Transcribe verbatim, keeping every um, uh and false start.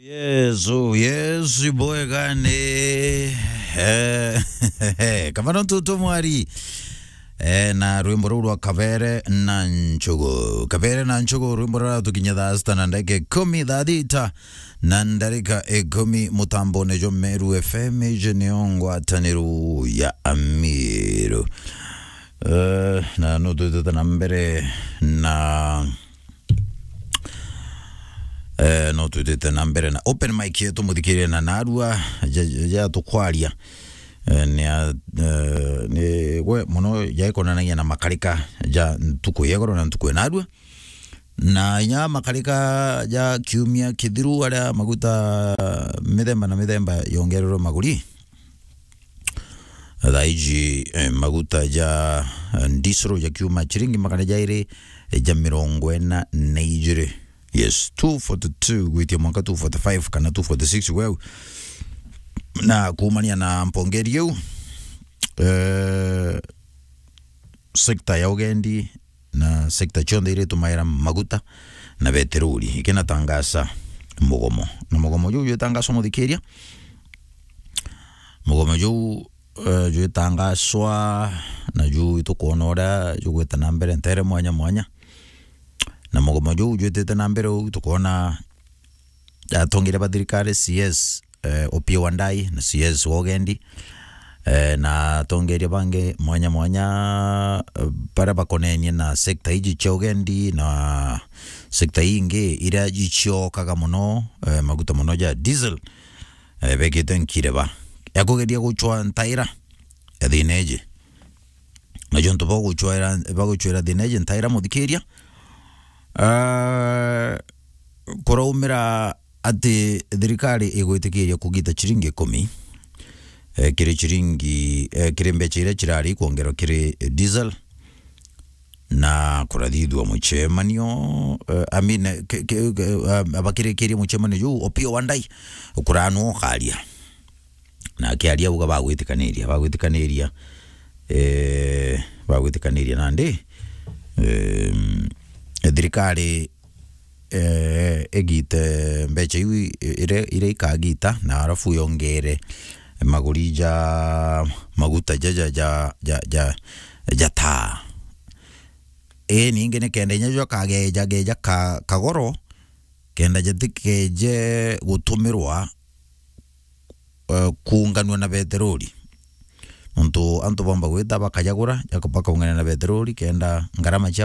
Yesu, Yesu bwega ni, eh, Kavana Ntutu Mwari. Eh, na rwimbo ruu rwa Kabere na Nchugu. Kabere na Nchugu, rwimbo ruratukinya thaa sita na ndagika ikumi, thaa thita na ndarika ikumi, mutambone jwa Meru F M, iji niyo ngwataniru ya Amiru. Eh, na no twitite na mbere na Eh, no twitite na mbere na open mic yetu, muthikirie na narua ja, ja, ja tukwaria. Eh, ni a, eh, ni gwe muno jaikonanagia na makarika ja ntuku ya igoro na ntuku ya narua. Na inya makarika ja kiumia kithiru aria maguta mithemba na mithemba yongererwe maguri. Thaa iji, eh, maguta ja, eh, ndisero ja kiuma chiringi magana jairi, eh, ja mirongo ina na ijiri. Yes, two forty-two gwitia mwanka two forty-five kana two forty-six weu. Na kuumania na mpongeri iu, eh, sekta ya ugendi na sekta cionthe iria itumaira maguta na beteroli ikinatangasa mugomo. Na mugomo juu jwitangaswa, muthikiria, mugomo juu, eh, jwitangaswa, na juu itukwona uria jugwita na mbere ntere mwanya mwanya. Na mugomo juu jwitite na mbere uu, tukwona atongeria ba thirikari, C S, eh, Opiyo Wandayi na C S wa ugendi, eh, na atongeria bangi mwanya mwanya, eh, baria bakonenie na sekta iji cia ugendi na sekta ingi iria iciokaga muno, eh, maguta muno ja diesel, eh, bekite nkireba ya kugeria gucwa ntaira ya thina iji. Na jontu bagucwera, bagucwera thina iji ntaira, muthikiria, ah, kuraumira ati thirikari igwitikiria kugita chiringi ikumi, eh, kiri chiringi, eh, kiri mbecha iria cirari kwongerwa kiri diesel, na kurathithua mucemanio, eh, I mean, eh, ke, ke, ke, ah, bakirikirie mucemanio juu, Opiyo Wandayi kuranwa ukaria. Na akiaria auga bagwitikaniria, bagwitikaniria, eh, bagwitikaniria nandi, eh, thirikari, eh, igite mbecha iu ire, iria ikagita, na arafu yongere maguri ja maguta ja, ja, ja, ja, ja, ja taa. Ii, ningi ni kenda inya jwa kageja, geja ka, kagoro, kenda jatikeje gutumirwa, eh, kuunganua na beteroli. Nontu antu bomba gwita bakajagura, jaka-, bakaungania na beteroli, kenda ngarama cia